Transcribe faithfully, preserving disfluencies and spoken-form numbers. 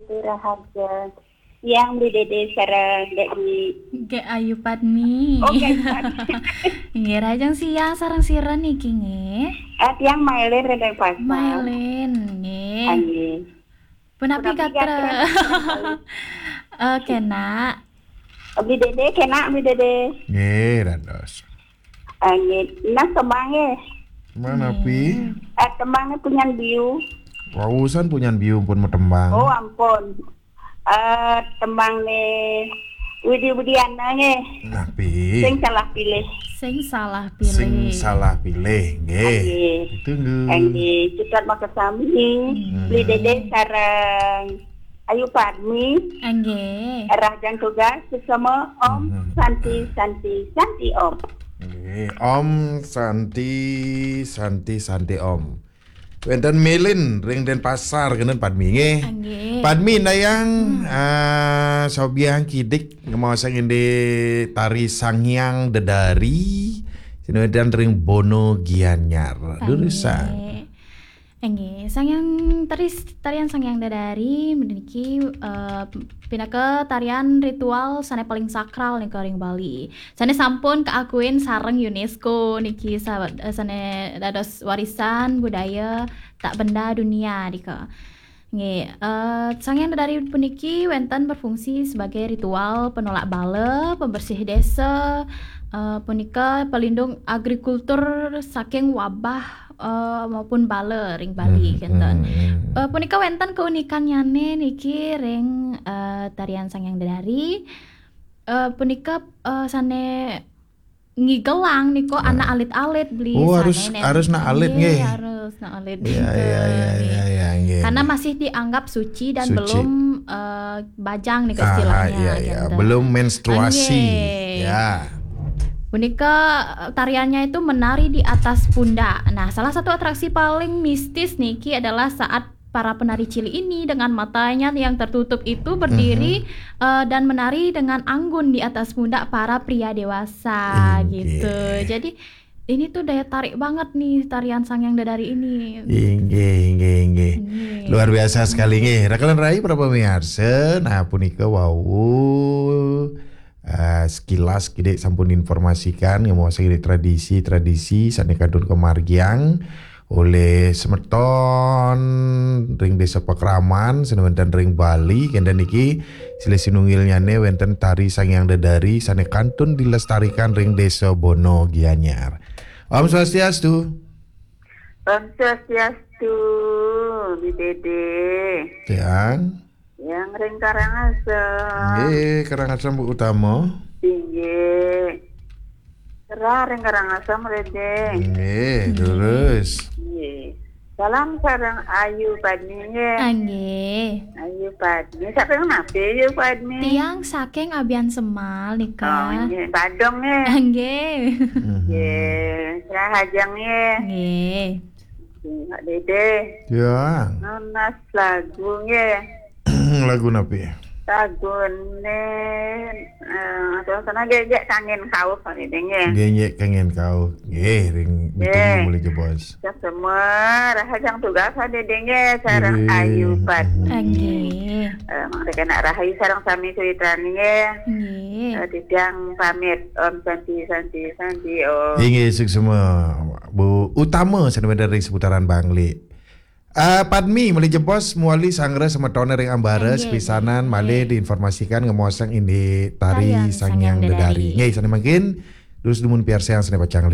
Rahajeng siang Bli Dede sareng Dek Dwi. Nggih, Ayu Padmi. Oh, nggih, Ayu Padmi. Nggih, rahajeng siang sareng sira niki nggih? Ah, tiang Mailen Rendeng Pasar. Mailen, nggih. Ah, nggih. Punapi gatra? Eh, kenak. Bli Dede, kenak Bli Dede. Nggih, dados. Ah, nggih. Nah, tembang nggih. Manapi? Nggih. Eh, tembangnya Punyan Biu. Wausan Punyan Biu pun mau tembang. Oh, ampun. Eh, tembang nih Widi Widiana nggih. Napi? Sing salah pilih. Sing salah pilih. Sing salah pilih, nggih. Nggih. Ditunggu. Nggih, cutet makasami. Hmm. Bli Dede sareng Ayu Padmi. Nggih. Rahajeng tugas sesama Om Hmm. Santi, Santi, Santi Om. Nggih, Om Santi, Santi, Santi Om. Wenten Melin ring Denpasar kenten Padmi nggih. Nggih. Padmi ndayang, Hmm. ah, sobiahang kidik ngemaosang indik tari Sang Hyang Dedari, sinawedan ring Bono Gianyar. Durusang. Nggih. Nggih, Sang Hyang tari, tarian Sang Hyang Dedari niki, eh, pinaka tarian ritual sane paling sakral nika ring Bali. Sane sampun kaakuin sareng UNESCO niki sa-, eh, sane dados warisan budaya tak benda dunia nika. Nggih, eh, Sang Hyang Dedari puniki wenten berfungsi sebagai ritual penolak bala, pembersih desa, eh, punika pelindung agrikultur saking wabah, eh, maupun bala ring Bali, Hmm, kenten. Hmm, hmm. Eh, punika wenten keunikannyane niki ring, eh, tarian Sang Hyang Dedari. Eh, punika, eh, sane ngigelang nika Nah. anak alit-alit Bli. Oh, harus, sane nen-, harus nak alit, nggih, nggih. Harus nak alit. Iya, nika, iya, iya, nggih. Iya, iya, nggih. Karena masih dianggap suci dan Suci. belum, eh, bajang nika Ah, istilahnya, iya, iya. kenten. Belum menstruasi. Nggih. Ya. Punika, eh, tariannya itu menari di atas pundak. Nah, salah satu atraksi paling mistis niki adalah saat para penari cilik ini dengan matanya yang tertutup itu berdiri, Mhm. eh, dan menari dengan anggun di atas pundak para pria dewasa, Inggih. gitu. Jadi, ini tuh daya tarik banget nih tarian Sang Hyang Dedari ini. Inggih, inggih, inggih. Inggih. Luar biasa sekali, nggih. Rakalan rai para pemirsa, nah, punika wau, eh, sekilas kidik sampun informasikan, ngemaosang indik tradisi-tradisi sane kantun kamargiang olih semeton ring Desa Pakraman, sane wenten ring Bali, kenten niki silih sinunggilnyane wenten tari Sang Hyang Dedari sane kantun dilestarikan ring Desa Bono Gianyar. Om Swastiastu. Om Swastiastu, Bli Dede. Tiang. Yang ring Karangasem. Nggih, Karangasem Bu Utama. Inggih. Rah ring Karangasem, Bli Dede. Nggih, Nggih. Terus. Nggih. Salam sareng Ayu Padmi, nggih. Ah, nggih. Ayu Padmi. Saking napi, Ayu Padmi? Tiang saking Abiansemal nika. Oh, nggih. Badung, nggih. Ah, nggih. Mhm. Nggih. Rahajeng, nggih. Nggih. Nggih, Pak Dede. Ya. Nunas lagu, nggih. Lagu napi? Lagune, eh, suasana gegek kangen kauh, Pak Dede, nggih. Gegek kangen kauh. Nggih, ring Nggih. Ditunggu mulih jebos. Kita semua rahajeng tugas, Pak Dede, nggih, sareng Nggih. Ayu Padmi. Nggih. Eh, mangda kena rahayu sareng sami sawitran, nggih. Nggih. Eh, titiang pamit. Om Santi, Santi, Santi, Om. Inggih, suksma, Bu Utama, sane wenten ring seputaran Bangli. Ah, Padmi, mulih jebos, mawali sanggra semetone ring ambara, Nggih, sepisanan, nggih. Malih diinformasikan ngemaosang indik tari Tarian Sang Hyang Hyang Dedari. Dedari. Nggih, sane mangkin, durus dumun piarsayang sane pacang